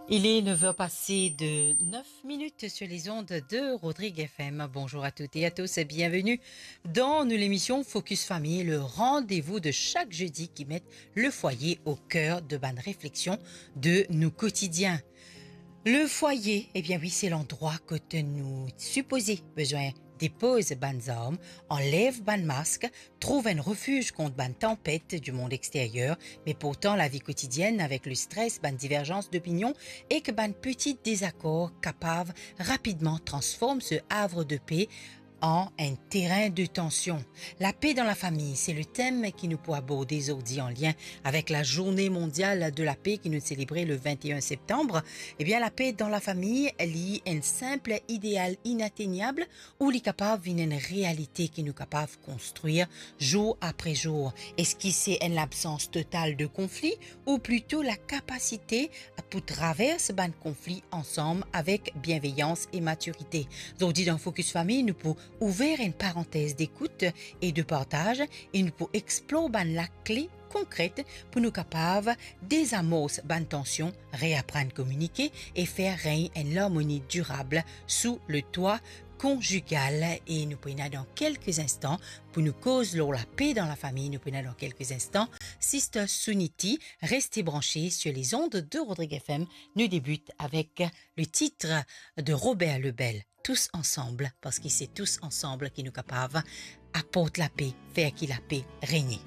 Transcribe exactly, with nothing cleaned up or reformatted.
Il est neuf heures passées de neuf minutes sur les ondes de Rodrigue F M. Bonjour à toutes et à tous et bienvenue dans nou lemision Focus Famille, le rendez-vous de chaque jeudi qui met le foyer au cœur de bann réflexion de nou kotidien. Le foyer, ebien wi, se landrwa kot nou sipoze bizin depoz bann zarm, anlev bann mask, trouv enn refiz kont bann tanpet du mond extérieur, me pourtan lavi kotidienn avek le stres, bann diverzans dopinion ek bann peti dezakor kapav rapidman transform se havre de pe an enn terin de tansion. Lape dan lafami, se le tem ki nou pou aborde zordi an lien avek la Journée Mondiale de la Paix ki nou selebre le vingt et un septembre. Ebien, lape dan lafami, li enn sinp ideal inatenyab ou li kapav vinn enn realite ki nou kapav konstrir zour apre zour? Eski se enn labsans total de konfli ou plito la kapasite pou travers bann konfli ansam avek bienveyans e matirite? Zordi dan Focus Famille, nou pou ouver enn parantez dekout e de partaz e nou pou explor bann lakle konkret pou nou kapav dezamors bann tansion, reaprann kominike e fer regn enn larmoni dirab sou le twa konjigal. E nou pou ena dan kelke instan pou nou koz lor lape dan lafami. Nou pou ena dan kelke instan Sister Suniti. Reste branche sur les ondes de Rodrigue F M. Nou debut avek le titre de Robert Lebel, Tous ensemble, parski se tous ensemble ki nou kapav aport lape, fer ki lape regne.